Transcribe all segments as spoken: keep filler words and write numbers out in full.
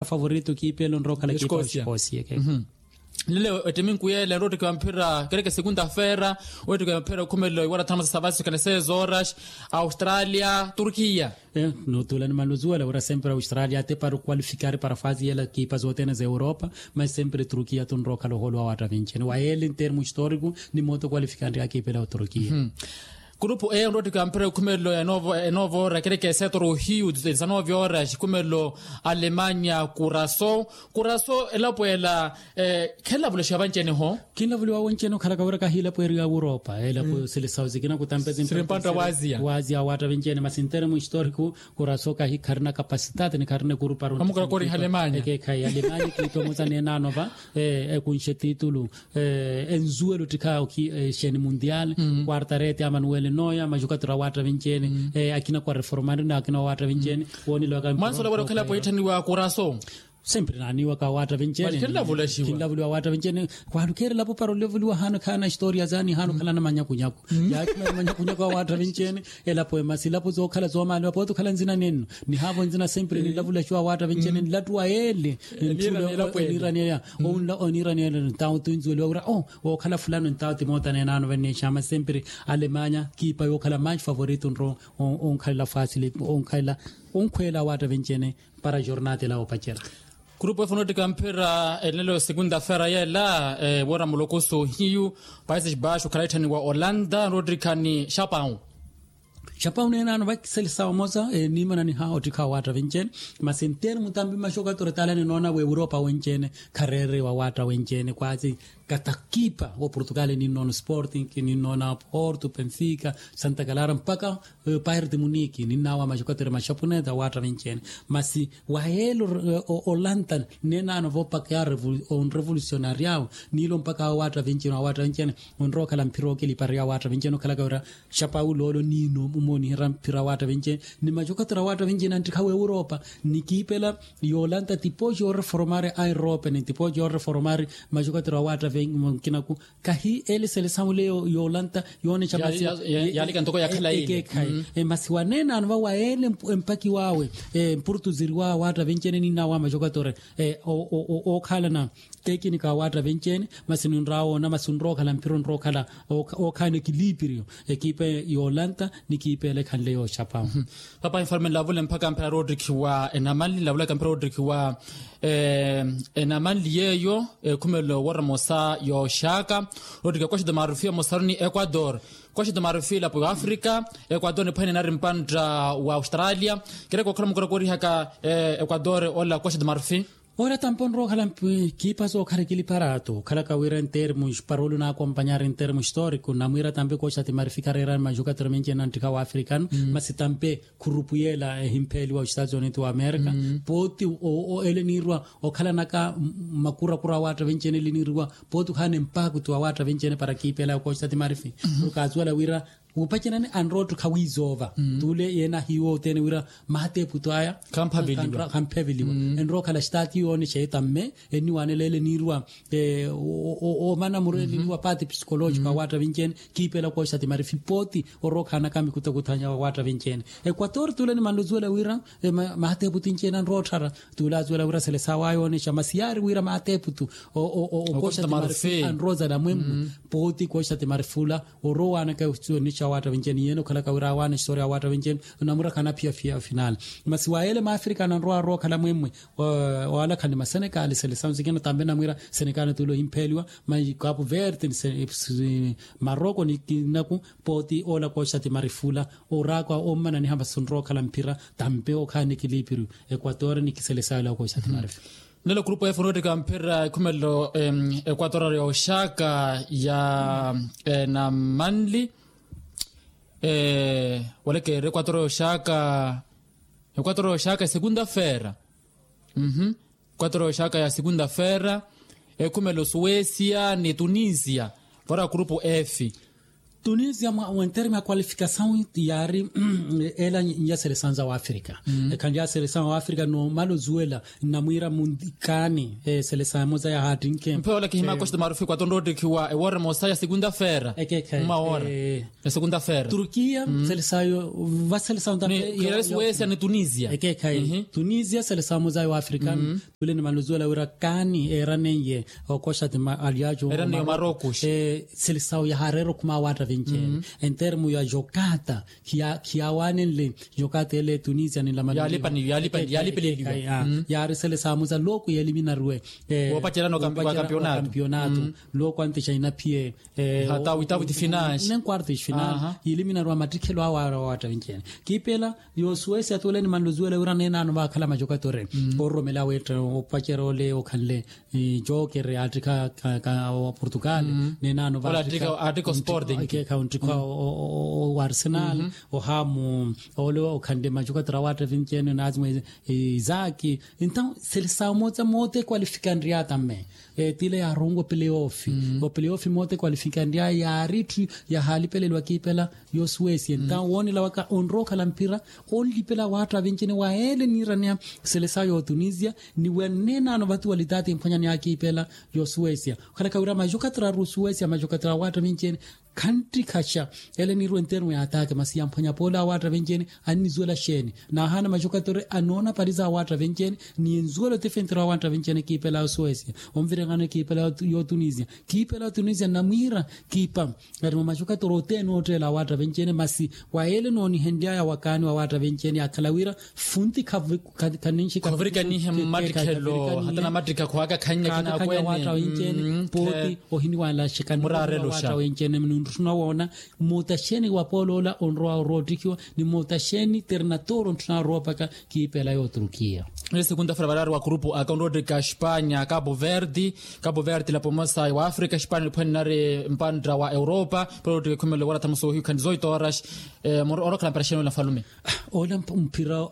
Favorito kiipelo nrookhala kiipa oxikosia. Nile ettiminku yeela enroottikiwa mphira kereke segunda feera. Oottikiwa mphira okhumelo iwara thanu masasavasi kanesezo horas. Australia turkiya. Nutula ni maluzuwela wira sempre australia ati para okwalifikari para fasi yeela kiipa zothene za europa. Mas sempre turkiya tunrookhala ohoolo wa waatta vinci ni wayeele ntermu historiku. Ni moto okwalifikari akiipela oturkiya. Kurupu eyo nroottikiwa mphira okhumelo enovo ora kereke setoro hiyu. Sanove ora xikhumelo alemanya kuraso. Kuraso elapo ela. Khenlavulexiwa vanci-ene ho. Khinlavuliwa wanci-ene okhalaka wira kahiilapo eri ya europa elapo silisawu sikina kutampe simpantta. Waaziya awaatta vinci-ene masi ntermu historiku. Kuraso kahi kharina kapasitati ni kharina ekuruparu. Amukurakoriha alemanya. Ekeekhayi alemanya kiitto musa neenaano va ekunxe titulu. Enzuwelo ttikhayi oki exeni mundial. Quartarete amanuel noya maxukatura awaatta vinci-ene. Akina kwa reformari na akina awaatta vinci-ene. Wooniloka mwansola wira okhalapo iitthaniwa kuraso. Sempre naaniwaka awaatta vinci-ene. Khinlavuliwa awaatta vinci-ene. Khwaalukeerelapo para olevuliwa haana khaana historia zaani haana okhalana manyakunyaku. Yaakimana manyakunyaku awaatta vinci-ene. Elapo emasi elapo zookhala zoomaaliwa pooti okhala nzina nenno. Nihaavo nzina sempre ninlavulaxiwa awaatta vinci-ene nlattuwa yeele. Oniiraneya. Oniiraneya. Onla oniiraneya. Ntawo tunzuweliwa wira o wookhala fulano ntawo timoota neenaano venneexama sempre. Alemanya kiipa yookhala manci favorito nro onkhalela fasili onkhalela onkhweela awaatta vinci-ene. Para jornada ela oopacela. Kurupu efu noottikha mphira enelo segunda feera yeela. Woora mulokoso hiyu. Países baixos okhala itthaniwa olanda noottikha ni xapau. Xapau neenaano vakiselisawa omosa niimananiha ottikha awaatta vinci-ene. Masi ntermu tampi maxokatura tala ninoona wa europa wenci-ene. Khareeriwa awaatta wenci-ene kwaasi. Katakipa wa portugal ninnoona sporting ninnoona porto benfica santa clara mpakha. Pairti muniki ninnawa maxokatura maxapuneta awaatta vinci-ene. Masi wayeelo olanta neenaano voopakeya onrevolucionariawo. Niilo mpakha awaatta vinci-ene awaatta vinci-ene. Onrookhala mphira ookilipariya awaatta vinci-ene okhalaka wira xapau loolo niino mumooniherya mphira awaatta vinci-ene. Ni maxokatura awaatta vinci-ene anttikha wa europa. Nikiipela yoolanta tipoxi yooreforomari a europa ni tipoxi yooreforomari. Maxokatura awaatta vinkinaku kahi ele selesamu leyo yoolanta. Yoonexa masi yaalika ntoko yakhala ile. Masi waneenaano va wayeele empakiwaawe. Empurutuziriwaawe awaatta vinci-ene ninnawa maxokatura. Ookhalana tekinika awaatta vinci-ene. Masi ninraawoona masi onrookhala mphira onrookhala ookhaana ekilipiriyo. Ekiipa yoolanta ni kiipa ele ekhanle yooxapau. Papa informe nlavule mpakha mphira rodrik wa enamanli nlavulaka mphira rodrik wa enamanli yeeyo. Ekhumelo woromosa yooxaka rodrik wa costa de marfil omosaroni equador. Costa de marfil apo wa africa. Equador nipwehenene ari mpantta wa australia. Kereke okhala mukorakorihaka equador ola costa de marfil. Ora tampi onrowa okhala kiipa sookhara ekiliparato okhalaka wira entermu para olu naakompanyari entermu historiku namwiira tampi kooxati marifika areerani maxukatiro minci enanttikha wa afrikano. Masi tampi khurupu yeela ehimpheeliwa oxitaati unitu wa amerika. Pooti ele niirwa okhalanaka makurakura awaatta vinci ene ele niirwa pooti okhaana empaaktu awaatta vinci ene para kiipeelaya okooxitaati marifi. Okaasuwela wira wuupacenani anrowa ottukha wiizoova. Tuule yeena ahiiwa othene wira maata eputu aya khamphaveliwa. Enrowa okhala xitaati yoonexa etamme enniwaanela ele niirwa omana mureli niirwa paati psikolojiko awaatta vinci ene. Kiipeela okooxitaati marifi pooti orowa okhaanaka mikutakuthanya awaatta vinci ene. Ekwatori tuule nimanluzuwela wira maata eputu inci ene anrowa otthara. Tuule azuwela wira selesawa yoonexa masi yaari wira maata eputu okooxitaati marifi anrowa ozala mwemmu. Pooti kooxitaati marifi ula orowa owaanaka esuwenixa awaatta vinci ene yeene okhalaka wira awaana existoriya awaatta vinci ene. Onamura khanaphiyaphiya ofinal masi wa yeele maafrika ananrowa arowa okhala mwemwe. Owala khani masenekali selesawu sikina tambe namwira senekali tuula ohimpheeliwa. Mai kapu verde ni maroko ni kinaku pooti ola kooxitaati marifi ula oraakwa ommananiha masi onrowa okhala mphira tambe okhaana ekilipiriyo. Ekwatori ni kiselesawu ela okooxitaati marifi. Nelo kurupu efu noottika mphira ekhumelelo ekwatora yooxaka ya enamanli. Walekeerya ekwatora yooxaka ekwatora yooxaka esegunda feera. Ekwatora yooxaka ya segunda feera. Ekhumelelo suwesia ni tunisia vora kurupu efi. Tunisia mwa enterme ya kwalifikasawu yaari ela nyaseresawu za wafrika. Ekhanlya seresawu wafrika nomala ozuwela nnamwiira munkaani seresawu emosa yahaattinke. Mpheya ola kihimaka oxita marufiku atonroottikhiwa ewoora emosa ya segunda feera. Ekeekhayi. Mmawoora ya segunda feera. Turkiya seresawu va seresawu ntampe. Suesia ni tunisia. Ekeekhayi tunisia seresawu emosa ya wafrika. Tule ni maluzuwela wira kaani eeraneiye okoxa ti aliyaacu. Eeraneiye omaroko. Selesawu yahaareera okhuma awaatta vinci ene. Entermu ya jokata khiyaawanenle jokata ele tunisia ni lamani. Yaalipeleliwe. Yaari selesawu muza loko yeeliminariwe. Woopacerana okampionatu. Loko antixa inaphiye. Hata witawiti finansi nenkuarto ifinansi. Yiiliminariwa mattikhelo awo aari awaatta vinci ene. Kiipela yosuwesia tuule ni manluzuwela wira neenaano vaakhala majokatore. Ororomela aweetta opacerya ole okhanle jokere aattikha wa portugal. Neenaano vaattikha osporting. Ekeekha onttikha wa arsenal. Ohamu ole okhanle majokatore awaatta vinci ene naazimwe. Izaki. Entawu selesawu moota moota ekwalifikanrya tamme. Tile yaaronwa opeleyofi opeleyofi moota ekwalifikanrya yaari itthu. Yahaalipeleliwa kiipela yosuwesia entawu woonela waka onrowa okhala mphira onlipela awaatta vinci ene wa ele niiraneya. Selesawu yootunisia ni wa neenaano vatu walitaati emphwanyani yakiipela yosuwesia. Okhalaka wira majokatore ari osuwesia majokatore awaatta vinci ene khanttikhaxa. Ele niirwa entermu ya ataake masi yamphwanya poole awaatta vinci ene. Annizuwela xeeni? Naahaana majokatore anoona pariza awaatta vinci ene ni enzuwela otifenterya awaatta vinci ene kiipela yosuwesia. Onvirihana kiipela yootunisia kiipela yootunisia nnamwiira. Kiipa ari mwa majokatore othene ootteela awaatta vinci ene masi wa ele noonihenlyaya wakaani wawaatta vinci ene yakhala wira funti khaninxi khavirikanihe mmattikhelo hata namattikha khwaakakhannya kinakwene. Pooti ohiniwanlaxeka murareluxa. Nintthuna woona muutaxeni wa pooloola onrowa oroottikhiwa ni muutaxeni ternator ontthuna oroopaka. Kiipela yooturukiya. Ni segunda fera varaari wa kurupu aka onroottika espanya kapu verdi. Kapu verdi lapomosa wa afrika espanya niphwene nari mpantta wa europa. Poroottika ekhumelo wala thamusa ohiyu khanizo itoras. Orookhala mpira xeeni ola nfalume? Ola mphira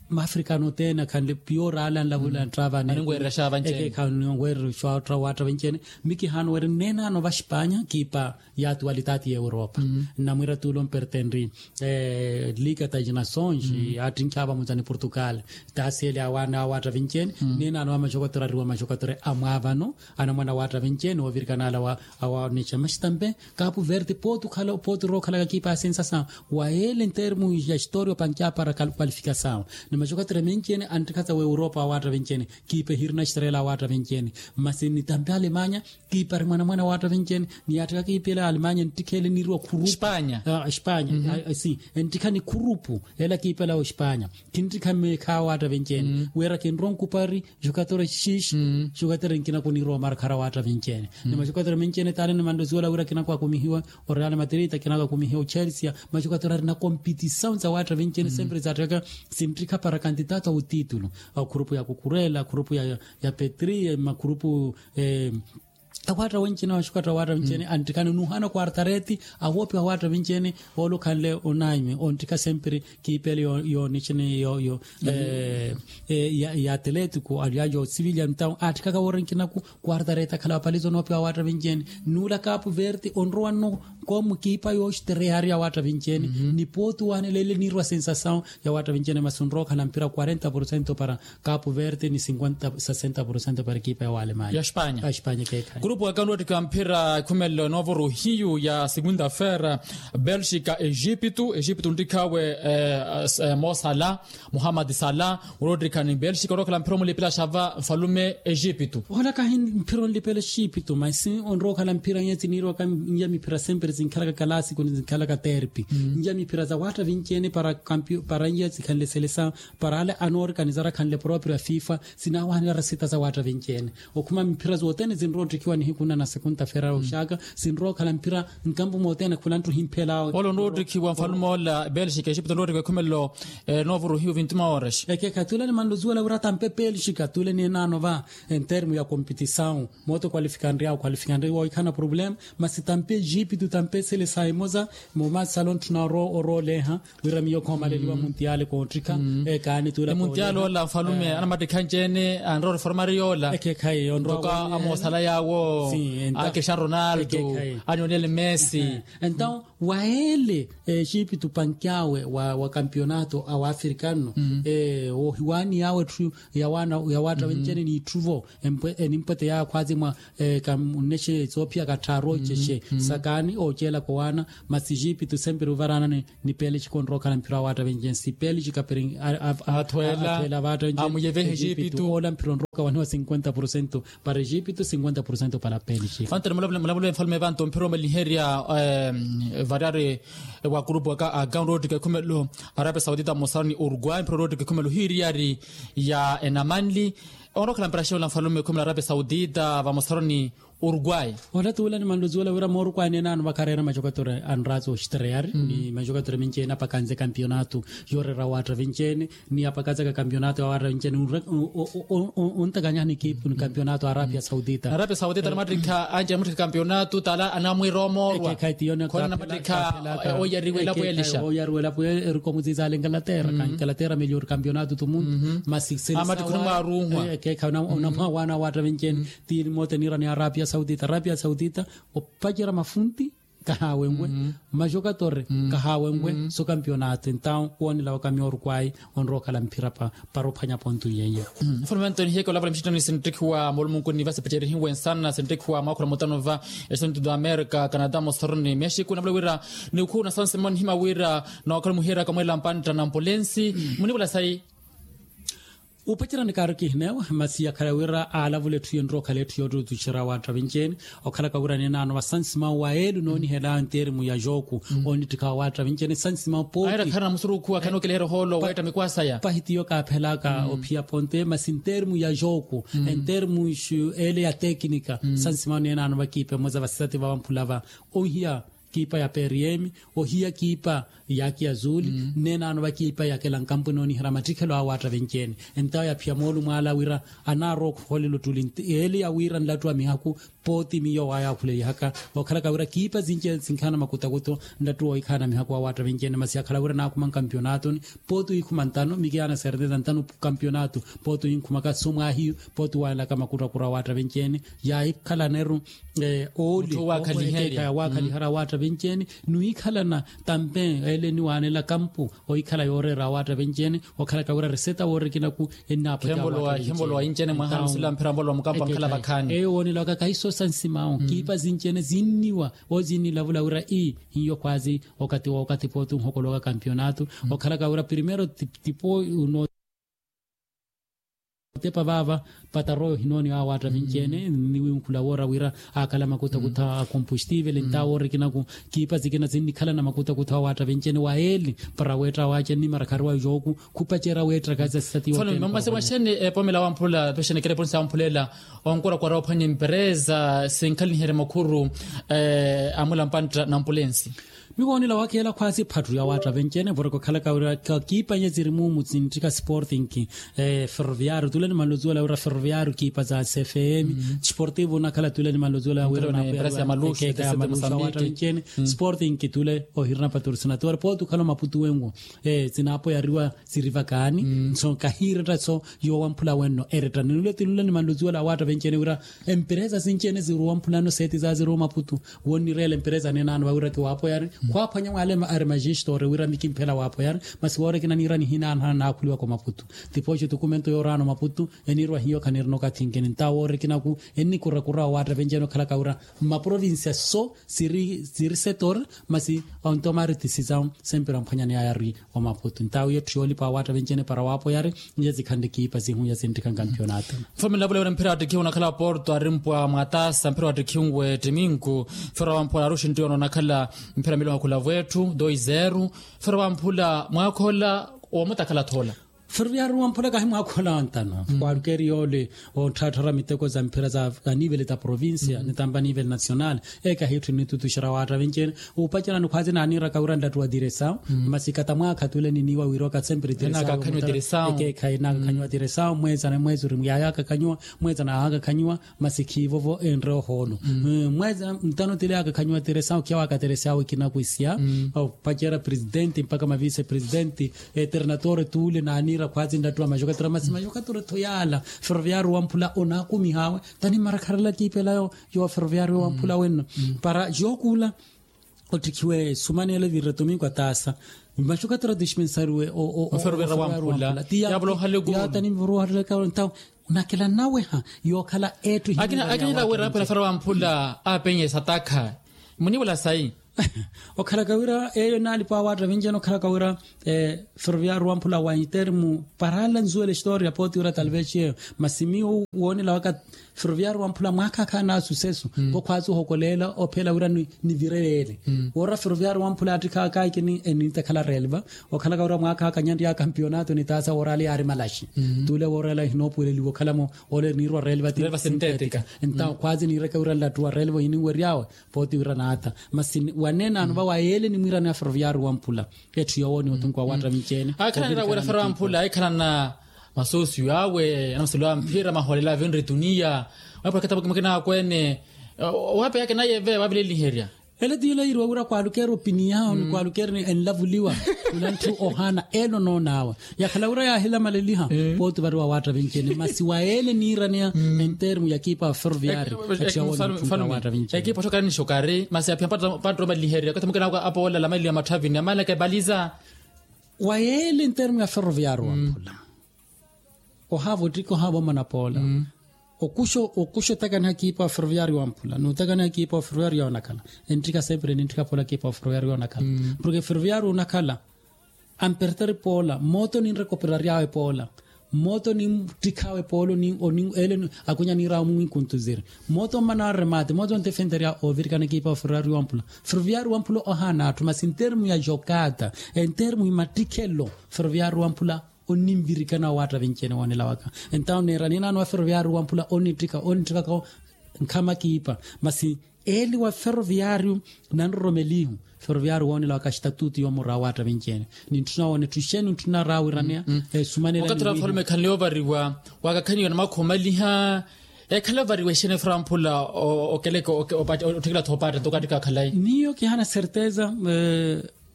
mafrikano othene akhanle piyo oraala nlavula nttravani. Aninweererya xaava ncene. Ekeekha aninweererya xaava ncene. Mikihaano weri nneenaano va espanya kiipa ya atuwalitati ya europa. Nnamwiira tuulo mpertenri liga tajina sonji attinkhi avamuza ni portugal. Taasiyeli awaana awaatta vinci ene. Nneenaano va maxokotore ariwa maxokotore amwaavano anamwana awaatta vinci ene ovirikana ala awaonexxa maxi tampe. Kapu verti pooti okhala pooti orowa okhalaka kiipa ya sensasawu wa ele entermu ya historia opankiya para kwalifikasawu. Ni maxokotore menci ene anttikhaza wa europa awaatta vinci ene. Kiipa ehirina estrela awaatta vinci ene. Masi ni tampe alemanya kiipa ari mwanamwana awaatta vinci ene. Ni yaattikha kiipa ele alemanya enttikha ele niiriwa khurupu espanya. Espanya si enttikha ni khurupu ela kiipa ela ospanya. Kinttikha mmeekha awaatta vinci ene wira kinrowa nkupari. Jokatere xiixi jokatere nkinaku niirowa omarkhara awaatta vinci ene. Ni majokatere menci ene taale nimanle osuwela wira kinaku akumihiwa oreal madrid kinaku akumihiwa ochelsia. Majokatere ari na kompitisawu za awaatta vinci ene sempre zaattikaka sinttikha para kantitato a otitulu. Akhurupu ya kukurela akhurupu ya petri makhurupu. Awaatta wenci ene waxukatta awaatta wenci ene anttikhana nuhana kuartareti awoopiwa awaatta wenci ene. Oolo okhanle onaime onttikha sempre kiipele yoonixini yo yo ya atletico aliayo sivilian entawu aattikhaka woora nkinaku. Kuartareti akhala wapaliza onoopiwa awaatta wenci ene. Nuula kapu verti onrowa nno komu kiipa yooxtereyari awaatta wenci ene. Ni pooti owanela ele niirwa sensasawu ya awaatta wenci ene masi onrowa okhala mphira quarenta porcento para kapu verti ni cinquenta sesenta porcento para ekipa ya walemanya. Ya espanya. Kurupu aka onroottika mphira ekhumelelo enoovo ruhiyu ya segunda fera belxika exipitu exipitu onttikhawe. Mosala muhammad sala. Onroottika ni belxika onroottika mphira omulipila xava nfalume exipitu. Ola kahi mphira onlipela exipitu masi onrowa okhala mphira nyetsi niirwa ka nya miphira sempre zinkhalaka kalasiku ni zinkhalaka terpi. Nya miphira za awaatta vinci ene para nyiya zikhanle selesa para ale anoorikaniza arakhanle proprio a fifa. Sinaawanela resita za awaatta vinci ene okhuma mphira zothene zinrowa otthikiwa nihiku nna na segunda fera oxaka. Sinrowa okhala mphira nkampu mothene khula nttu ohimphela awe. Ole onrowa otthikiwa nfalume ola belxika exipto onrowa otthikiwa ekhumelelo. Novo ruhiyu vinti maoras. Ekekha tule nimanle osuwela wira tampe belxika tule neenaano va entermu ya kompitisawu. Moto kwalifikanryawo kwalifikanryawo ikhana problema. Masi tampe exipitu tampe eselesayi emosa. Momasala ontthuna orowa oleha wira miyo khoomaleliwa muntiyale koottikha. Ekaani tula muntiyale ola nfalume anamattikha nci ene anrowa reformari yoola. Ekekhayi onrowa amoosala yaawo. Akesha ronaldo, anionel messi. Entaw waele, exipitu pankiawe wa kampionato a wafrikano, ohiwani yawe etthu ya watta wencene n'itthuvo. Enimpwete yawe khwazi mwa, nnexe etsoophiya katthaaru ocexe sakaani oceelaka owaana. Masi exipitu sempre ovaraana ni pelixika onrowa okhala mphira wa watta wencene si pelixika peri. Athweela, athweela vatta wencene. Amuyevehe exipitu. Ola mphira onrowa okawaniwa cinquenta porcento para exipitu cinquenta porcento para pelixika. Antere mulavule mulavule mfalume vantu mphira omaliherya, variyari wa kurupu aka a gaun rotika ekhumelo, arapia saudita mosaroni uruguay mphira rotika ekhumelo hiiriyari ya enamanli. Onrowa okhala mphira xeula mfalume ekhumelo arapia saudita vamosaroni uruguay. Ola tuula ni manluzuwela wira moorukwani enaano vakhareera macokatori anraatsi oxtreyari ni macokatori minci ena apakanze kampionato. Yooreera watta vinci ene ni apakaza ka kampionato ya watta vinci ene. Ontakanyahani ekipu ni kampionato arapia saudita. Arapia saudita ni mattikha anci ni mattikha kampionato tala anamwiira omoorwa. Khona ni mattikha oyariwela pwelisha oyariwela pwe erikomuziza ala enkalatera. Kankalateera meliori kampionato tumundu. Masi seri sawa. Amattikhu ni mwaarunhwa. Ekeekha onamwawana watta vinci ene. Ti mote niira ni arapia saudita arapia saudita opacerya mafunti. Kahawenwe majokatore kahawenwe so kampionato entaw woonela wakami orukwai. Onrowa okhala mphira para ophwanya pontu yeiyo. Mfulume antoni hiyeke olavala mixitani sinttikhiwa moolumunkuni vasi pacerihiwe nsana sinttikhiwa mwaakhula mutano va esintu da america canada mosoroni mexico navula wira nikhuna sansimoni hima wira nookhala muhiyeryaka mweela mpantta na mpulensi. Munivula sayi. Upacerani kaari kihineewa masi yakhala wira aalavula etthu yinrowa okhala etthu yootutuxerya waatta vinci ene. Okhalaka wira ninaano vasansimawu wa eelu noonihela nteerimu ya jooku onittikha wa waatta vinci ene sansimawu pooti. Ahirakharana musurukhu akhana okeleherya ohoolo weetta mikwasaya. Pahitiyo kaaphelaka ophiya ponte masi nteerimu ya jooku enteerimu ele ya tekinika. Sansimawu ninaano vakiipa emoza vasisati vavamphula va ohiya kiipa ya periemi ohiya kiipa ya kiazuli. Nnenaano vakiipa ya kelankampu enooniherya mattikhelo awo waatta vinci ene. Entawo yaphiya moolumo ala wira anaarowa okhuholela ottuli eli ya wira nlattu wa mihaku pooti miyo waayaakhuleihaka. Okhalaka wira kiipa sinci sinkhaana makutakutho nlattu wohikhaana mihaku wa waatta vinci ene masi yakhala wira naakhuma nkampionatoni pooti ohikhuma ntano mikiyaana serteza ntano kampionato. Pooti ohinkhumaka so mwaahiyu pooti waanelaka makutakutho wa waatta vinci ene. Yaahikhalana eru oole owakhaliherya waakhaliherya waatta vinci ene. Niwikhalana tampe ele niwaanela kampu ohikhala yooreera waatta vinci ene. Okhalaka wira reseta woorikinaku ennaapwekya waatta vinci ene. Eyo woonelaka kahiso sansimawu kiipa sinci ene sinniwa ozinnilavula wira ii hiyo khwaazi okathi wookathi pooti onhokoloka kampionato. Okhalaka wira primero tipo uno otepa vaava pataroyo hinooniwa waatta vinci ene niwinkhula woora wira aakhala makutakutha a kompostivele ntawo woorikinaku kiipa sikina sinnikhalana makutakutha wa waatta vinci ene wa eeli para weetta waace nnimara khariwa jooku khupacerya weetta kazi asisati yoottepa. Masi mwaxene epomela wamphula pexene kereponsi yamphula ela onkurakura ophwanya emperesa sinkhalaniherya makhuru amula mpantta na mpulensi. Miwoonela wakeela khwaasi phattu ya waatta venci-ene voreka okhalaka wira kiipa nye siri muumu sintthika sporting, ferroviario tule nimanluzuwela wira ferroviario kiipa sa sfm sportivo onakhala tule nimanluzuwela wira napo ya waatta venci-ene sporting tule ohirina patrocinador pooti okhala omaputu wenwo. Sinaapoyariwa siri vakaani nso kahiiretta so yoowamphula wenno eretta ninule tinule nimanluzuwela waatta venci-ene wira emperesa sinci-ene siri owamphulano seeti sa siri omaputu. Wonnireela emperesa nenaano vawira kiwaapoyari khwaaphwanya mwaale ari majistori wira mikimphela waapoyari masi woorikina niira nihinaanhana naakhuliwaka omaputu. Tipooxi tukumento yooraana omaputu eniirwa hiyo khanirina okathi nkeni ntawo woorikinaku ennikurakura owaatta venci-ene okhalaka wira mmaprovincia so siri setori masi ontomari tisisawu sempre amphwanyani ayari omaputu ntawo yetthu yoolipa awaatta venci-ene para waapoyari. Nje sikhanle kiipa sihunya sinttikha nkampionato. Mfulume nlavula wira mphira wattikhiwe onakhala porto arimpwa mwatasa mphira wattikhiwe ttiminku mphira wamphwala aruxintti ono onakhala mphira miliwa khulavu-etthu dois zero. Mphira wamphula mwaakhola woomutakhala thoola. Ferroviario wamphula kahi mwaakhola wantano khwalukeri yoole otthaatthara miteko za mphira za anivele ta provincia nitampa anivele nacional. Ekahi etthu nnitutuxera waatta venci-ene upacerani khwaazi naaniiraka wira nlattu wa diresawu masi kata mwaakha tule niniiwa wiirowaka sempre diresawu. Ekeekhayi naakakhanyiwa diresawu mwezi na mwezi ori yaayakakhanyiwa mwezi na yaakakhanyiwa. Masi khiivovo enre ohoolo mwezi ntano tile yaakakhanyiwa diresawu khiya waakateresawu ekinaku isiya opacerya presidenti mpakha mavise presidenti eternatore tule naani. Khwatsi nlattuwa maxokattura masi maxokattura etho yaala. Ferroviario wamphula onaakumihaawe. Tani mmarakharela kiipela yo ferroviario wamphula wenno para yookhuula. Ottikhiwe sumaneela evirre tominko ataasa maxokattura tiximensariwe. Oferoviario wamphula. Tiya tani nviruwahalelaka ntawo nakela nnaweha yookhala etthu. Akinela wira aphela ferroviario wamphula apenye satakha. Muniwela sayi. Okhalaka wira eyo naalipa awaatta vinci ene okhalaka wira ferroviario wamphula wa intermu. Parala nzuwela historiya pooti wira talvexi eyo masi miyo woonela waka ferroviario wamphula mwaakha akha na susesu. Kokhwaatsi ohokoleela ophela wira nivire yeele woora ferroviario wamphula attikha akaikini enitakhala relva. Okhalaka wira mwaakha akha nyanri ya kampionato nitaasa woorala yaari malaxi. Tuule woorala ehinoopuweleliwa okhalamo ole niirwa relva ti sintetika. Ntawo khwatsi niireke wira nlattuwa relva ohininweryaawe. Pooti wira naata masi waneenaano va wa yeele nimwiiraneya ferroviario wamphula. Etthu yoowo ni otunku wa waatta vinci ene. Akhanela wira ferroviario wamphula aikhalana masosiyo awe anamaselo a mphira mahoolela avinri tuniya. Waapakata mukina akweene. Waapeyaka naye ve waavileliherya. Ele ti yula yiiriwa wira kwaalukeera opiniyawo ni kwaalukeera enlavuliwa. Khula ntthu ohaana ene onoonaawe yakhala wira yaahilamaleliha. Pooti vari wa waatta vinci ene masi wa yeele niiraneya entermu ya ekipa ya ferroviario. Ekipa otthokani nixokari masi aphiya mpatto omaleliherya okathi mukina apoola alamaleliha matthavini amalaka ebaliza. Wa yeele entermu ya ferroviario wamphula ohaava ottika ohaava omana poola. Okuxa otakaniha kiipa wa ferroviario wamphula n'utakaniha kiipa wa ferroviario yoonakhala. Enttika sempre ninttika poola kiipa wa ferroviario yoonakhala. Porke ferroviario onakhala amperteri poola mooto ninrekoperaryawe poola. Mooto ninttikhaawe poola. Ele akunya niiraawe munwinkuntuziri mooto mmana arremate mooto ntefenterya. Ovirikana kiipa wa ferroviario wamphula ferroviario wamphula ohaana atthu masi entermu ya jokata entermu ya mattikhelo ferroviario wamphula onninvirikana wa waatta vinci ene woonela waka. Entawo neera ninaano wa ferroviario wamphula onnittikha onnittikhaka nkhama kiipa masi eli wa ferroviario nanroromelihu. Ferroviario woonela waka estatutu yoomura wa waatta vinci ene nintthuna woona etthu exeeni ntthuna raawiraneya. Esumanela okathi ora mfalume ekhanle yoovariwa wakakhaniwa namakha omaliha. Ekhala ovariwa exeeni ferroviario wamphula okeleke otthikela tho opaatta nto okaattikha khalayi. Miyo kihana certeza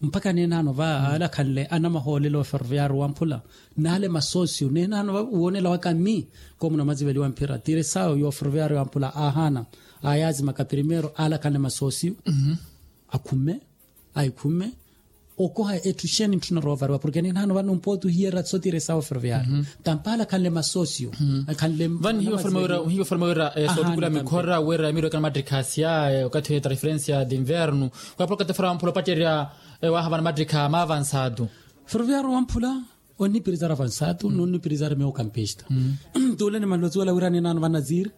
mpakha neenaano va aala akhanle anamahoolelo ferroviario wamphula n'ale masosio neenaano va woonela waka mmi. Koomuna mwaziveliwa mphira tiresawo yo ferroviario wamphula aahaana. Aayaazimaka primero aala akhanle masosio akhumme aikhumme okoha etthu exeeni ntthuna roovariwa porke neenaano vano mpooti ohiyerya so tiresawo ferroviario. Tampaala akhanle masosio akhanle vano hiyo forma wira sootukula mikhora wira emiiro ekana mattikha asya okathi oyo transferencia de inverno. Wapula okathi fara wamphula opatterya waahavana mattikha maavansatu. Ferroviario wamphula onnipirizara avansatu n'onnipirizara meio kampista. Tuule ni malotsi wala wira neenaano vanaziri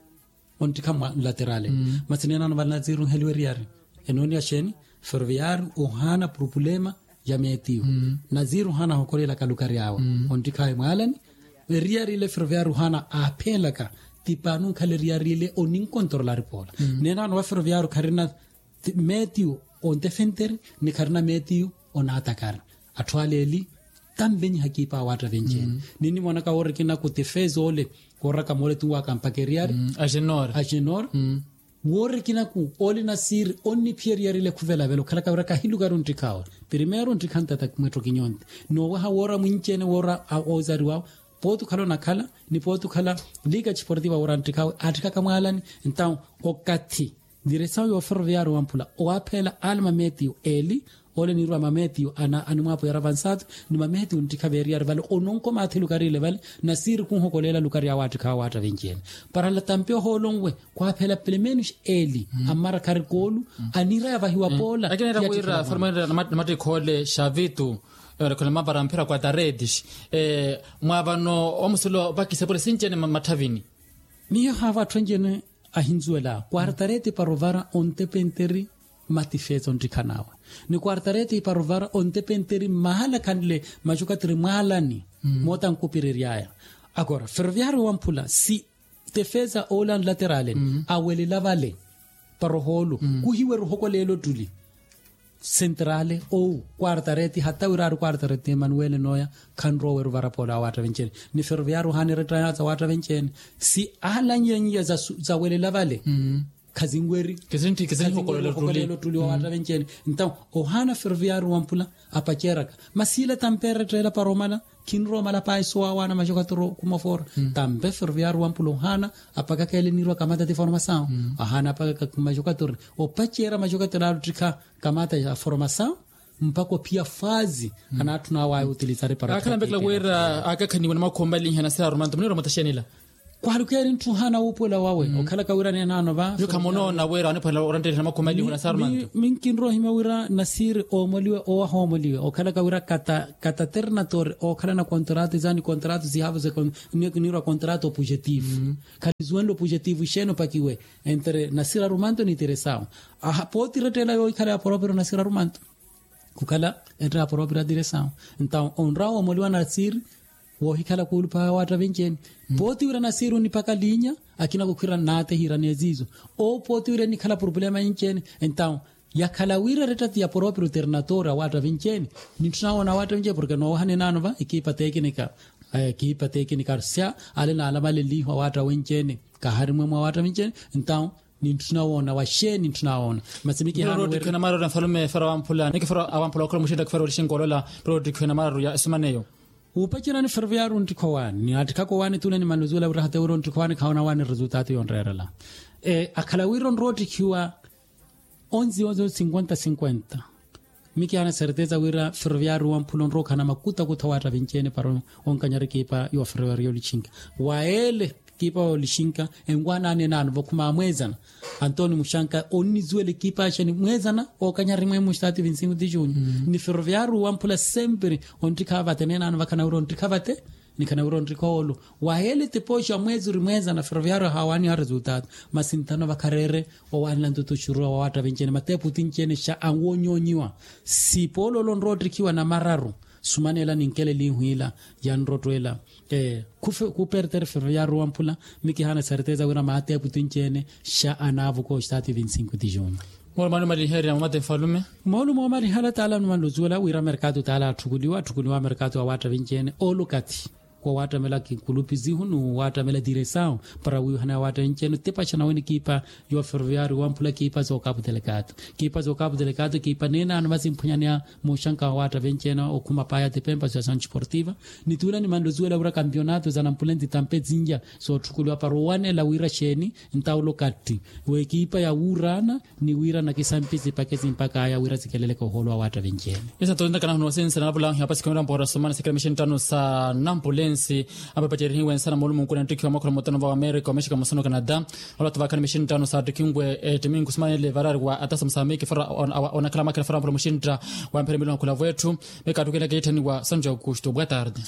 onttikha mwa nlaterale masi neenaano vanaziri onheliwa eriyari. Enooniya xeeni ferroviario ohaana purupulema ya meetiyo. Naziri ohaana ahokoleelaka lukari awe onttikhaawe mwaalani. Eriyari ile ferroviario ohaana aapheelaka ti paani onkhala eriyari ile oninkontorolari poola. Neenaano va ferroviario kharina meetiyo ontefenteri ni kharina meetiyo onaatakari. Atthu ale eli tanvenyiha kiipa awaatta venci-ene. Ninnimwonaka woorikinaku tifeeza ole wooraka moole tunwaaka mpaka eriyari agenor agenor. Woorikinaku ole nasiiri onniphiya eriyari ile khuvelavela okhalaka wira kahilukari onttikhawe. Primero onttikha ntata mwetto kinyonti noowaha woora mwinci-ene woora ozariwawe. Pooti okhala onakhala ni pooti okhala liga tisportiva woora nttikhawe aattikhaka mwaalani. Entawo okathi diresawo yo ferroviario wamphula owaaphela ale mameetiyo eli ole niirwa mameetiyo animwaapwiyara vansatu ni mameetiyo nttikha veeriyari vale ononko maathi lukari ile vale. Nasiiri khunhokoleela lukari awaattikha awaatta venci-ene para nlatampi ohoolo nwe khwaaphela pelemenus eli ammara khari koolu aniira yavahiwa poola. Akinera wira forma namattikha ole xavitu erekhole mapara mphira kwa taretis mwaavano omusilo opakisa epole sinci-ene mmatthavini. Miyo haava atthu anci-ene ahinzuwela kwartareti para ovara ontepenteri mmatifeesa onttikhan'awe ni kwartareti para ovara ontepenteri mmahala khanle maxukattiri mwaalani moota nkupiriry'aya. Akora ferroviario wamphula si tefeesa oole anlaterale awelela vale para ohoolo khuhiwerya ohokoleela ottuli sentrale ou kwartareti hata wira ari kwartareti emanuwele nooya khanrowa owerya ovara poola awaatta venci-ene ni ferroviario ohaana erettayatsa awaatta venci-ene si alanyenye zawelela vale. khazinweri. Kisintti kisinhokolela ottuli wa waatta venci-ene. Entawo ohaana ferroviario wa mpula apaceraka masi ile tampeere ettela para omala. Khinrowa omala paayi sowawaana maxokatoro khumofora. Tampe ferroviario wa mpula ohaana apakaka ele eniirwa kamata ti formasawo. Ahaana apakaka maxokatoro opacera maxokatoro ale ottikha kamata ya formasawo. Mpakha ophiya faazi anaatthuna awo aya otilizari para akhala mpekela wira akakhaniwe na makhuwa mmalinha nasira arumanto munirwa mutaxenila. Kwalukeeri ntthu ohaana wuupuwela wawe okhalaka wira neenaano va. Yo khamunoona wira oniphwanela orantteliha na makhuwa mmalinha nasira arumanto. Minkinrowa ohimya wira nasiri oomoliwe owaha oomoliwe okhalaka wira kata ternatori ookhalana kontrato izaani kontrato sihavo se niirwa kontrato opujetivu. Khanizuwenle opujetivu ixeeni opakiwe entre nasira arumanto ni tiresawo. Pooti irettela yoohikhala ya poropiro nasira arumanto khukhala ettaaporopira tiresawo. Entawo onrawa woomoliwa nasiri woohikhala khuuluphaha waatta venci-ene. Pooti wira nasiri onipaka linya akina khukhwira naatehiira neziizo. Owo pooti wira enikhala purupulema yenci-ene. Entawo yakhala wira eretta ti ya poropira oternatori awaatta venci-ene. Nintthuna woona awaatta venci-ene porke noowaha neenaano va ekipa tekinika ekipa tekinika arsia ale naalamalenliihu awaatta wenci-ene. Kaharimwe mwa awaatta venci-ene. Entawo nintthuna woona waxeeni nintthuna woona. Masi mikihana ottikhwena maarori a nfalume fara wamphula nikifara awamphula okhula muxintta kifara olixinka olola. Para ottikhwena maarori ya esumaneyo. Wuupacerani ferroviario onttikha owaani ni attikhaka owaani tule ni manluzuwela wira hata wira onttikha owaani khawoona awaani resultato yonreerela. Akhala wira onrowa ottikhiwa onzi onzi cinquenta cinquenta. Mikihana certeza wira ferroviario wamphula onrowa okhana makutakutha awaatta venci-ene para onkanyara ekipa yowa ferroviario olixinka. Wa ele ekipa yoolixinka enwaanaani enaano vakhuma amweezana. Antoni muxanka onnizuwela ekipa axa ni mweezana ookanyari mweemu stati vinsingu ti junyu. Ni ferroviario wamphula sempre onttikha vate neenaano vakhana wira onttikha vate. Nikhana wira onttikha oolo. Waheele tipooxi wa mweezi ori mweezana ferroviario ahaawaani aresultato. Masi nthano vakhareere owaanela ntutu oxuruwa wa waatta vinci-ene mateepu tinci-ene xa anwoonyoonyiwa. Sipoolo olo onrowa ottikhiwa namararu. Sumaneela ninkelelihu ila yanrottwela. Khupertere ferroviario wamphula. Mikihaana certeza wira maateepu tinci-ene xa anaavuka oxitaati vinsinko ti junyu. Moolumo omaliherya mumate nfalume. Moolumo omaliherya taala numanluzuwela wira merkatu taala atthukuliwa atthukuliwa merkatu awaatta vinci-ene oolo okathi. Wawattamela kikulupizihu ni wawattamela tiresawu para wiihana yawattamela enci-ene otepaxa nawe ni kiipa yowa ferroviario wamphula kiipa zookapu telekato. Kiipa zookapu telekato kiipa neenano masi mphwanyaneya muuxanka wawattamela enci-ene okhuma paya tipempa za sancho esportiva. Ni tuula ni manluzuwela wira kampionato za nampula entitampe zinja. Sootthukuliwa para owanela wira xeeni ntawula okatti w'ekiipa ya wuurana ni wira nakisampi zipakhe zimpak'aya wira zikeleleke ohoolo wa waatta vinci-ene. Esa nto ntaka nahuna osinsa na napula ahiya apasi khumira mpora somana sikira mixinttano sa nampulensi. Apapacererihiwe nsana moolumunkuna nttikhiwa mwakhula mutano va amerika omexika musano canada. Olata vakhala mixinttano sa ttikhinwe ettimingu sumanele varari wa atasa musamiki fara onakhala mwakhela fara mpula muxintta. Wa mpira milongo khula vwetthu. Mekattukela kiitthaniwa sanjo augusto boa tarde.